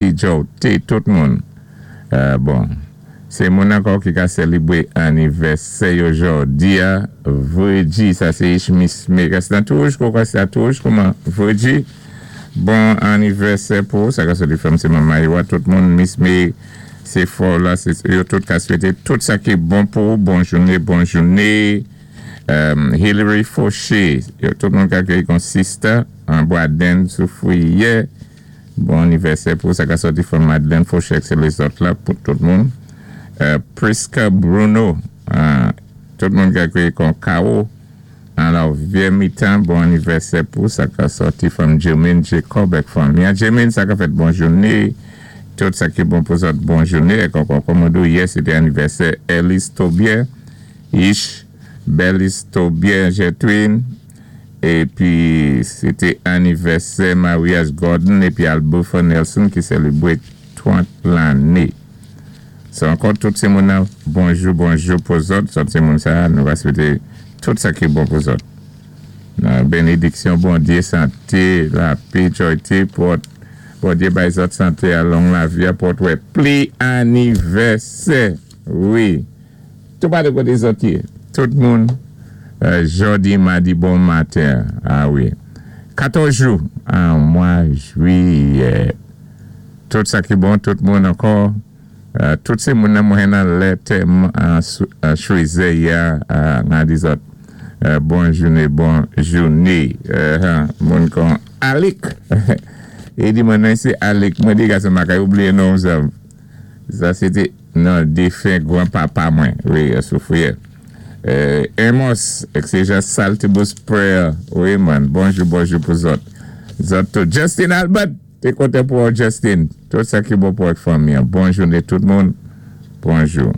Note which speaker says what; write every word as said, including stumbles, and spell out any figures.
Speaker 1: Joe, tout moun. Euh, bon, sé moun ankò ki ka sélébwé anniversaire yo jòdi a, Virgie, sa sé Miss Megas nan touj, kwa sa touj, kouman, Virgie, bon anniversaire pou, sa ka soti from sé manman yo, tout moun, Miss May, sé fò la, sé yo tout ka swété, tout sa ki bon pou, bon jouné, bon jouné, um, Hillary Fauché, yo tout moun ka kéyi kon sister, an Boisden Soufrière, bon anniversaire pou sa ka soti from Madeleine Fauché, sé lézòt la pou tout moun. Euh, Priska Bruno, uh, tout moun ka kéyi kon K O, alò, Vyé Mitan, bon anniversaire pou sa ka soti from Jermaine Jacob ek fanmi. Jermaine, sa ka fèt bon jouné, tout sa ki bon pou zòt bon jouné, ek ankò kòmando, yè, sété anniversaire Ellis Tobier, Ish, Belis Tobier Jetwin, épi sété anniversaire mariage Gordon épi Albufa Nelson ki sélébwé trant lanné. So ankò tout sé moun bonjou, bonjou pou zòt, zòt sé moun sa, nou va swété tout sa ki bon pou zòt. Bénédiksyon Bondyé, santé, lapé, jòyté, pou Bondyé bay zòt santé a long lavi a pou wè pli anniversaire. Wi. Tout pa de koté zòt yé. Tout moun Euh, jòdi, madi, bon maten. Ah wi. katòz jou an mwa jwiyè. Tout sa ki bon, tout moun ankò. Euh, tout sé moun mwen nan lèt an chwézè ya nan di zòt. Euh, bon jouné, bon jouné. Moun kon Alik. É di mwen nan sé Alik. Mwen di gason ma kay oubliyé non sa. Sa sété nan défen gwan-papa mwen. Wi, Soufrière. Euh, Amos, ek Saltibus Prayer. Wi, man. Bonjou, bonjou pou zòt. Zòt tout. Justin Albert, té koté pou Justin. Tout sa ki bon pou ak fanmi. Bon jouné tout moun. Bonjou.